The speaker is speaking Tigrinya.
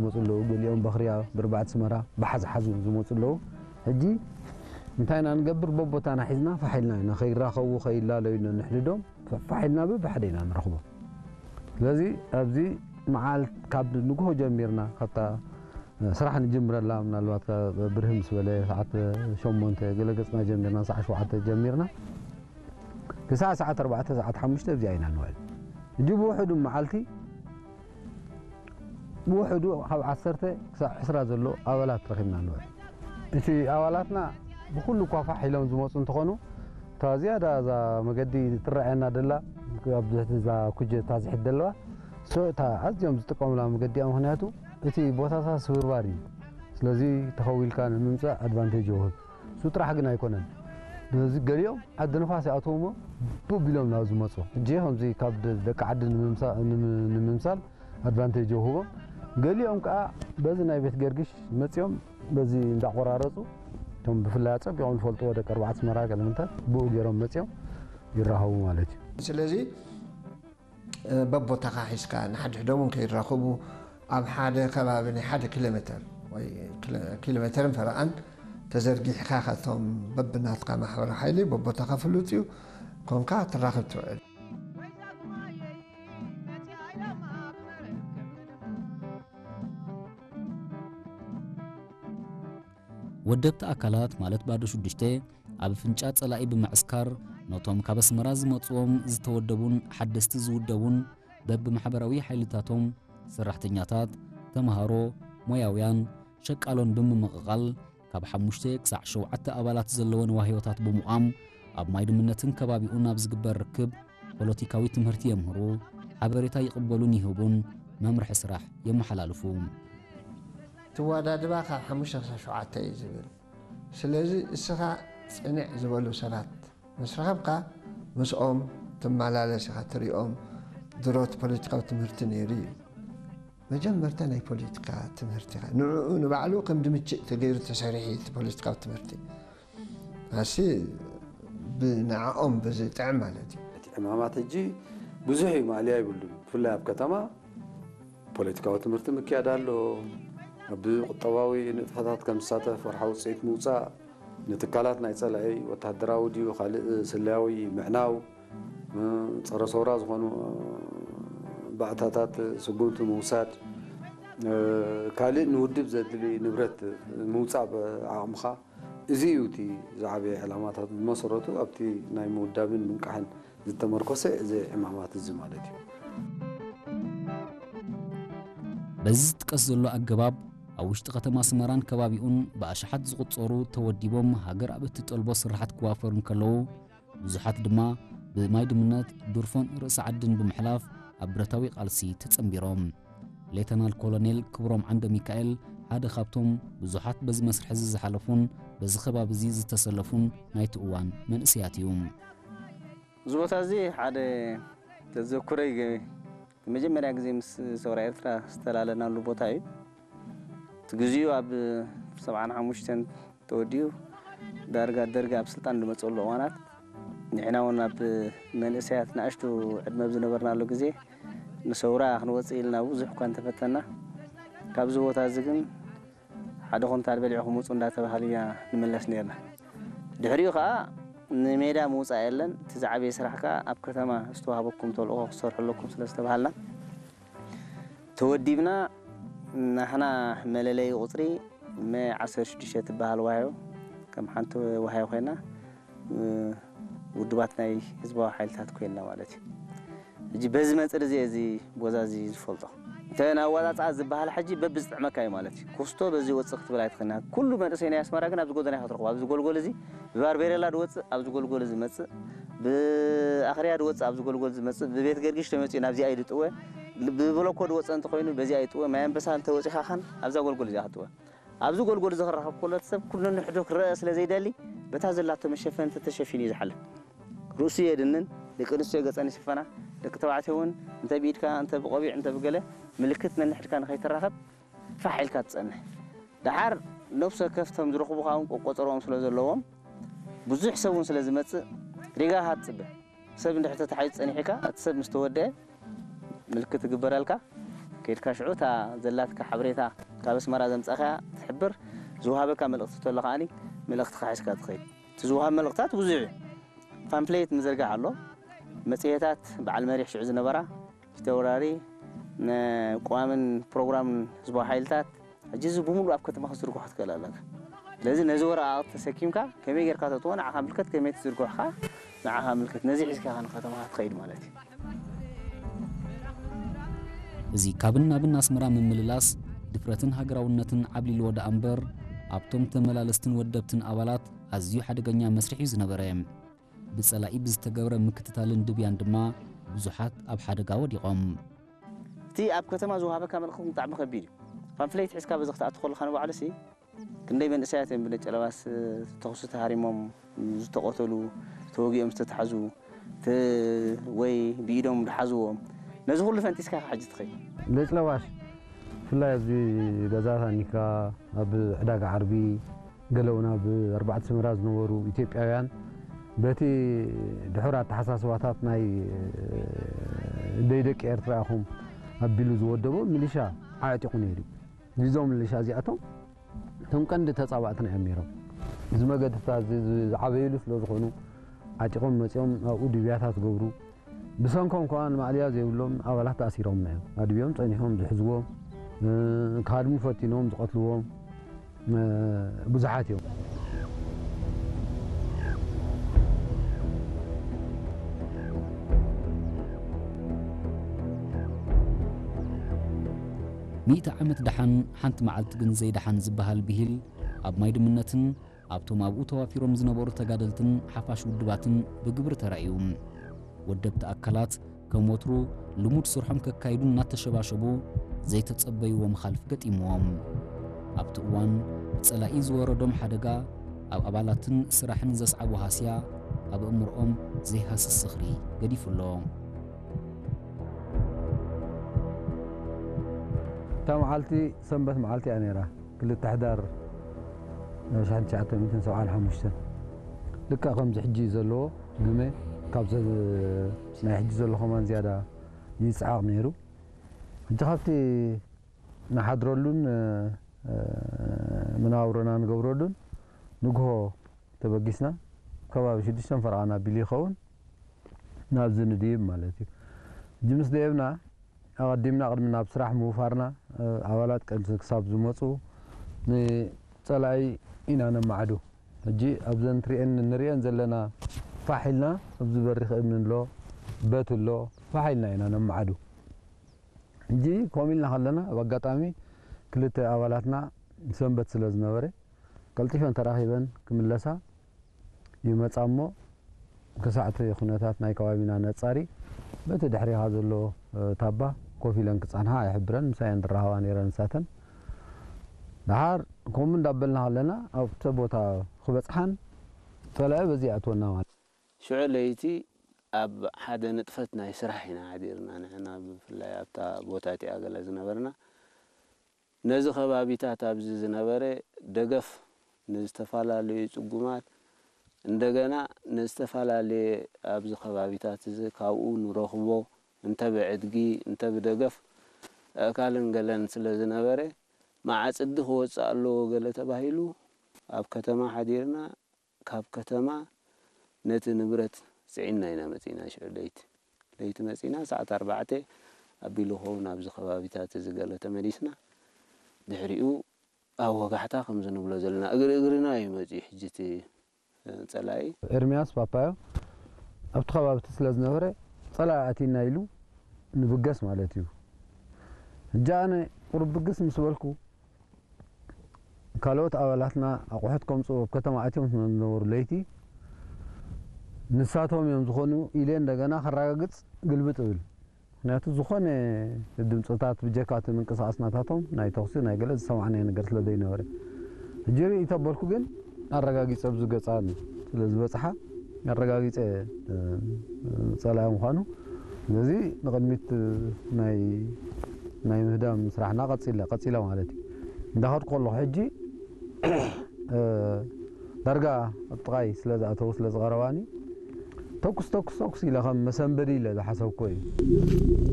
ዝመፁ ኣለዉ። ገሊኦም በኽርያ ብርባዕት ስመራ ብሓዝሓዙ ዝመፁ ኣለዉ። ሕጂ እንታይ ኢና ንገብር? በቦታና ሒዝና ፋሕ ኢልና ኢና፣ ከይራኸቡ ከይላለዩ ኢና ንሕድዶም። ፋሕ ኢልና በብሓደ ኢና ንረኽቦም። ስለዚ ኣብዚ መዓልት ካብ ንግሆ ጀሚርና ካብታ ስራሕ ንጅምረላ፣ ምናልባት ብርህ ምስ በለ ሰዓት ሸሞንተ ገለ ገጽና ጀሚርና፣ ሰዓት ሸውዓተ ጀሚርና ክሳዕ ሰዓት ኣርባዕተ ሰዓት ሓሙሽተ ኣብዚኣ ኢና ንውዕል። ሕጂ ብውሕዱ መዓልቲ ብውሕዱ ካብ ዓሰርተ ክሳብ ዕስራ ዘሎ ኣባላት ረኺብና ንውዕል። እቲ ኣባላትና ብኹሉ እኳ ፋሕ ኢሎም ዝመፁ እንተኾኑ፣ እታ ዝያዳ እዛ መገዲ ትረኣየና ደላ፣ ኣብ ትሕቲ እዛ ኩጀ እታ ዝሕድ ዘለዋ፣ እታ ኣዝዮም ዝጥቀሙላ መገዲ እያ። ምኽንያቱ እቲ ቦታታት ስብርባር እዩ። ስለዚ ተኸዊልካ ንምምፃእ ኣድቫንቴጅ ይውህብ። እሱ ጥራሕ ግን ኣይኮነን። ስለዚ ገሊኦም ዓዲ ንፋስ ይኣትዉ እሞ ቡብ ኢሎም ናብ ዝመፁ። ሕጂ ከምዚ ካብ ደ-፣ ደቂ ዓዲ ንምምሳ-፣ ንም-፣ ንምምሳል ኣድቫንቴጅ ይውህቦም። ገሊኦም ከዓ በዚ ናይ ቤት ገርግሽ መፂኦም በዚ እንዳቆራረፁ፣ እቶም ብፍላይ ኣፀቢቖም ዝፈልጥዎ ደቂ ኣርባዕተ ኣስመራ ገለ ምንታይ ብኡ ገይሮም መፂኦም ይራኸቡ ማለት እዩ። ስለዚ በቦታኻ ሒዝካ ንሓድሕዶም እውን ከይራኸቡ ኣብ ሓደ ከባቢ ናይ ሓደ ኪሎ ሜተር ወይ ኪሎ-፣ ኪሎ ሜተርን ፈረቓን ተዘርጊሕካ ካብቶም በብናትካ ማሕበራዊ ሓይሊ በቦታኻ ፍሉጥ እዩ ኮንካ ትራኸብ ትውዕል። ወደብቲ ኣካላት ማለት ባዶ ሽዱሽተ ኣብ ኣፍንጫ ጸላኢ ብምዕስካር ነቶም ካብ ኣስመራ ዝመጽዎም ዝተወደቡን ሓደስቲ ዝውደቡን በብማሕበራዊ ሓይልታቶም ሰራሕተኛታት፣ ተምሃሮ፣ ሞያውያን፣ ሸቃሎን ብምምቕቓል ካብ ሓሙሽተ ክሳዕ ሸውዓተ ኣባላት ዘለወን ዋህዮታት ብምቋም ኣብ ማይ ድምነትን ከባቢኡን ኣብ ዝግበር ርክብ ፖለቲካዊ ትምህርቲ የምህሩ፣ ሓበሬታ ይቕበሉን ይህቡን መምርሒ ስራሕ የመሓላልፉ። ትወዳድባ ካብ ሓሙሽተ ክሳብ ሸውዓተ እዩ ዝብል። ስለዚ እስኻ ጽንዕ ዝበሉ ሰባት ምስ ረኸብካ ምስኦም ትመላለስ ኢኻ ትሪኦም። ድሮ እቲ ፖለቲካዊ ትምህርቲ ነይሩ እዩ። መጀመርታ ናይ ፖለቲካ ትምህርቲ ኢኻ። ንዕኡ ንባዕሉ ከም ድምችእ ተገይሩ ተሰሪሑ እዩ እቲ ፖለቲካዊ ትምህርቲ። ኣሲ ብንዕኦም ብዝጥዕም ማለት እዩ። እቲ ዕማማት ሕጂ ብዙሕ እዩ ማእለያ ይብሉን። ብፍላይ ኣብ ከተማ ፖለቲካዊ ትምህርቲ ምክያድ ኣሎ። ኣብ ቁጠባዊ ንጥፈታት ከም ዝሳተፍ ወርሓዊ ውፅኢት ምውፃእ፣ ንትካላት ናይ ፀላኢ ወታደራዊ ድዩ ካልእ ስለያዊ ምዕናው፣ ፀረ ሰውራ ዝኾኑ ባእታታት ስጉምቲ ምውሳድ፣ ካልእ ንውድብ ዘድሊ ንብረት ምውፃእ ብዓቕምኻ። እዚ እዩ እቲ ዝዓበየ ዕላማታት። ብመሰረቱ ኣብቲ ናይ ምውዳብን ምንቃሕን ዝተመርኮሰ እዚ ዕማማት እዚ ማለት እዩ። በዚ ዝጥቀስ ዘሎ ኣገባብ ኣብ ውሽጢ ከተማ ኣስመራን ከባቢኡን ብኣሽሓት ዝቑጸሩ ተወዲቦም ሃገር ኣብ እትጠልቦ ስራሓት ክዋፈሩ እንከለዉ፣ ብዙሓት ድማ ብማይ ድምነት፣ ድርፎን ርእሲ ዓድን ብምሕላፍ ኣብ ብረታዊ ቃልሲ ተጸንቢሮም። ሌተናል ኮሎኔል ክብሮም ዓንደ ሚካኤል ሓደ ካብቶም ብዙሓት በዚ መስርሕ እዚ ዝሓለፉን በዚ ከባቢ እዚ ዝተሰለፉን ናይቲ እዋን መንእሰያት እዩ። እዚ ቦታ እዚ ሓደ ተዘክሮይ ገ-፣ መጀመርያ ግዜ ምስ ሰውራ ኤርትራ ዝተላለናሉ ቦታ እዩ። እቲ ግዚኡ ኣብ ሰብዓን ሓሙሽተን ተወዲኡ ዳርጋ ደርጊ ኣብ ስልጣን ዝመፀሉ እዋናት ንሕና እውን ኣብ መንእሰያት ንኣሽቱ ዕድመ ኣብ ዝነበርናሉ ግዜ ንሰውራ ክንወፅእ ኢልና ብዙሕ እኳ እንተፈተና ካብዚ ቦታ እዚ ግን ሓደ ኩንታል በሊዕኹም ውፁ እንዳተባሃሉ ኢና ንምለስ ነርና። ድሕሪኡ ከዓ ንሜዳ ምውፃእ የለን፣ እቲ ዝዓበየ ስራሕ ከዓ ኣብ ከተማ ዝተዋህበኩም ተልእኾ ክትሰርሑ ኣለኩም ስለ ዝተባሃልና ተወዲብና። ናህና መለለይ ቁፅሪ መ ዓሰርተ ሽዱሽተ ትበሃል ዋህዮ ከም ሓንቲ ዋህዮ ኮይና ውድባት ናይ ህዝባዊ ሓይልታት ኮይንና ማለት እዩ። ሕጂ በዚ መፅር እዚ እዚ ቦታ እዚ ዝፈልጦ እንተ ንኣወፃፅኣ ዝበሃል ሕጂ በብዝጥዕመካ እዩ ማለት እዩ። ኩስቶ በዚ ወፅእ ክትብል ኣይትኽእልና። ኩሉ መንእሰይ ናይ ኣስመራ ግን ኣብዚ ጎደና ኢኻ ትረኽቦ። ኣብዚ ጎልጎል እዚ ብባርቤሬላ ድወፅእ ኣብዚ ጎልጎል እዚ መፅእ፣ ብኣኽርያ ድወፅእ ኣብዚ ጎልጎል ዝመፅእ፣ ብቤት ገርጊሽ ተመፂኡ ናብዚኣ እዩ ድጥወ፣ ብብሎኮ ድወፅእ እንተኾይኑ በዚኣ ይጥወ። ማይ ኣንበሳ እንተወፂኻ ኻን ኣብዛ ጎልጎል እዚኣ ክትጥወ። ኣብዚ ጎልጎል እዚ ክራኸብ ከሎ እቲ ሰብ ኩሉ ነንሕዱ ክረአ ስለ ዘይደሊ በታ ዘላቶ መሸፈኒ ተተሸፊኑ እዩ ዝሓልፍ። ርእሱ የድንን፣ ደቂ ኣንስትዮ ገፀን ይሽፈና፣ ደቂ ተባዕትዮ እውን እንተ ብኢድካ እንተ ብቆቢዕ እንተ ብገለ ምልክት ነንሕድካ ንኸይትራኸብ ፋሕ ኢልካ ትፀንሕ። ደሓር ነብሲ ወከፍ እቶም ዝረኽቡኻ እውን ቆቆፀርኦም ስለ ዘለዎም ብዙሕ ሰብ እውን ስለ ዝመፅእ ሪጋ ኢኻ ትፅበ። ሰብ እንድሕር ተታሒዙ ፀኒሕካ እቲ ሰብ ምስ ተወደአ ምልክት ይግበረልካ። ኦኬ፣ ከድካ ሽዑ እታ ዘላትካ ሓበሬታ ካብ ኣስመራ ዘምጻእካያ ትሕብር፣ ዝወሃበካ መልእኽቲ ተሎ ከኣኒ መልእኽትኻ ሒዝካ ትኸይድ። እቲ ዝወሃብ መልእኽታት ብዙሕ እዩ። ፓምፍሌት ምዝርጋሕ ኣሎ። መጽሔታት በዓል መሪሕ ሽዑ ዝነበራ ፊተውራሪ ንቅዋምን ፕሮግራምን ህዝባዊ ሓይልታት፣ ሕጂ እዚ ብምሉእ ኣብ ከተማ ክትዝርግሖ ትኽእል ኣለካ። ስለዚ ነዚ ወረቓቕቲ ተሰኪምካ ከመይ ጌርካ ተእትዎ ንዓኻ ምልከት፣ ከመይ ትዝርግሖ ከኣ ንዓኻ ምልከት። ነዚ ሒዝካ ኢኻ ንከተማኻ ትኸይድ ማለት እዩ። እዚ ካብን ናብን ኣስመራ ምምልላስ ድፍረትን ሃገራውነትን ዓብሊልዎ ደኣ እምበር ኣብቶም ተመላለስትን ወደብትን ኣባላት ኣዝዩ ሓደገኛ መስርሕ እዩ ዝነበረ። ብጸላኢ ብዝተገብረ ምክትታልን ድብያን ድማ ብዙሓት ኣብ ሓደጋ ወዲቖም። እቲ ኣብ ከተማ ዝወሃበካ መልእኽቲ ብጣዕሚ ከቢድ እዩ። ፓምፍሌት ሒዝካ በዚ ክትኣቱ ከለኻ ንባዕሉሲ ክንደይ መንእሰያት እዮም ብነጨለባስ ተኹሲ ተሃሪሞም ዝተቐተሉ፣ ተወጊኦም ዝተታሕዙ፣ ተ-፣ ወይ ብኢዶም ዝሓዝዎም። ነዚ ኩሉ ፈንጢስካ ኢኻ ሕጂ ትኸይድ። ነጭ ለባሽ ብፍላይ ኣብዚ ገዛ ታኒካ፣ ኣብ ዕዳጋ ዓርቢ፣ ገለ እውን ኣብ ኣርባዕተ ሰመራ ዝነበሩ ኢትዮጵያውያን በቲ ድሑር ኣተሓሳስባታት ናይ ደይ ደቂ ኤርትራ ኢኹም ኣቢሉ ዝወደቦ ሚሊሻ ዓዕጢቑ ነይሩ እዩ። እዞም ሚሊሻ እዚኣቶም እቶም ቀንዲ ተጻባእትና እዮም ነይሮም። እዚ መገድታት እዚ ዝዓበይሉ ስለ ዝኾኑ ዓጢቖም መጺኦም ኣብኡ ድብያታት ዝገብሩ፣ ብሰንኮም ከኣ ንማእለያ ዘይብሎም ኣባላት ተኣሲሮምና እዮም። ኣድብዮም ጸኒሖም ዝሕዝዎም፣ እ፣ ክሃድሙ ፈቲኖም ዝቐትልዎም፣ እ፣ ብዙሓት እዮም። ሚእቲ ዓመት ደሓን ሓንቲ መዓልቲ ግን ዘይደሓን ዝበሃል ብሂል ኣብ ማይ ድምነትን ኣብቶም ኣብኡ ተዋፊሮም ዝነበሩ ተጋደልትን ሓፋሽ ውድባትን ብግብሪ ተራእዩ። ወደብቲ ኣካላት ከም ወትሩ ልሙድ ስርሖም ከካይዱ እናተሸባሸቡ ዘይተጸበይዎ መኻልፍ ገጢምዎም። ኣብቲ እዋን ብጸላኢ ዝወረዶም ሓደጋ ኣብ ኣባላትን ስራሕን ዘስዓቦ ሃስያ ኣብ ኣእምሮኦም ዘይሃስስ ዝኽሪ ገዲፉ ኣሎ። እታ መዓልቲ ሰንበት መዓልቲ እያ ነይራ። ክልተ ሕዳር ሽሕን ትሽዓተ ሚእትን ሰብዓን ሓሙሽተን። ልክዕ ከምዚ ሕጂ ዘለዎ ግመ ካብ ዘ-፣ ናይ ሕጂ ዘሎ ከማን ዝያዳ ይጽዓቕ ነይሩ። ሕጂ ካብቲ ንሓድረሉን፣ እ፣ መነባብሮና ንገብረሉን ንግሆ ተበጊስና ከባቢ ሽዱሽተን ፈረቓን ኣቢሉ ይኸውን ናብዚ ንድይብ ማለት እዩ። ሕጂ ምስ ደየብና ኣቐዲምና ቅድሚ ናብ ስራሕ ምውፋርና፣ እ፣ ኣባላት ቀንዲ ክሳብ ዝመጹ ንጸላኢ ኢና ነማዕዱ። ሕጂ ኣብዘን ትሪኤን ንሪኤን ዘለና ፋሕ ኢልና ኣብዚ በሪኽ እምኒ ኣሎ፣ በት ኣሎ፣ ፋሕ ኢልና ኢና ነማዕዱ። ሕጂ ከምኡ ኢልና ከለና ኣብ ኣጋጣሚ ክልተ ኣባላትና ሰንበት ስለ ዝነበረ ቀልጢፈን ተራኺበን ክምለሳ ይመጻ እሞ ክሳዕ እቲ ኩነታት ናይ ከባቢና ነጻሪ በቲ ድሕሪኻ ዘሎ፣ እ፣ ታባ ኮፍ ኢለን ክጸንሓ ኣይሕብረን፣ ምሳየን ዝራኸባ ነይረን ንሳተን። ደሓር ከምኡ እንዳበልና ከለና ኣብቲ ቦታ ክበጽሓን ጸላኢ በዚ ይኣትወና ማለት። ሽዑ ለይቲ ኣብ ሓደ ንጥፈት ናይ ስራሕ ኢና ሓዲርና ንሕና፣ ብፍላይ ኣብታ ቦታ እቲኣ ገለ ዝነበርና። ነዚ ከባቢታት ኣብዚ ዝነበረ ደገፍ ንዝተፈላለዩ ጽጉማት፣ እንደገና ንዝተፈላለየ ኣብዚ ከባቢታት እዚ ካብኡ ንረኽቦ፣ እንተ ብዕድጊ፣ እንተ ብደገፍ ኣእካልን ገለን ስለ ዝነበረ፣ መዓጽዲ ክወጽእ ኣለዎ ገለ ተባሂሉ፣ ኣብ ከተማ ሓዲርና፣ ካብ ከተማ ነቲ ንብረት ጽዒንና ኢና መጺእና። ሽዑ ለይቲ፣ ለይቲ መጺእና፣ ሰዓት ኣርባዕተ ኣቢሉ ክኸውን ኣብዚ ከባቢታት እዚ ገለ ተመሊስና። ድሕሪኡ ኣብ ወጋሕታ ከምዚ ንብሎ ዘለና፣ እግሪ እግርና እዩ መጺኡ ሕጂ እቲ ጸላኢ። ኤርምያስ ፓፓዮ ኣብቲ ከባቢ እቲ ስለ ዝነበረ፣ ጸላኢ ኣቲና ኢሉ ንብገስ ማለት እዩ። ሕጂ ኣነ ቁሩብ ብግስ ምስ በልኩ፣ ካልኦት ኣባላትና ኣቑሑት ከምጽኡ ኣብ ከተማ ኣትዮም ስለ ዝነበሩ ለይቲ፣ ንሳቶም እዮም ዝኾኑ ኢለ እንደገና ከረጋግጽ ግልብጥ እብል። ምኽንያቱ ዝኾነ ድምጽታት ብጀካ እቲ ምንቅስቓስ ናታቶም ናይ ተኹሲ ናይ ገለ ዝሰማዕናዮ ነገር ስለ ዘይነበረ። ሕጂ ርእይ ተበልኩ ግን ኣረጋጊጸ ኣብዚ ገጻ ስለ ዝበጽሓ ኣረጋጊጸ፣ እ፣ ጸላኢ ምዃኑ። ስለዚ ንቕድሚት ናይ፣ ናይ ምህዳም ስራሕና ቀጺለ፣ ቀጺለ ማለት እዩ። እንዳኸድኩ ከለኹ ሕጂ፣ እ፣ ዳርጋ ኣብ ጥቓይ ስለ ዝኣተዉ ስለ ዝቐረባኒ ተኩስ፣ ተኩስ፣ ተኩስ ኢለ ከም መሰንበዲ ኢለ ዝሓሰብኩ እዩ።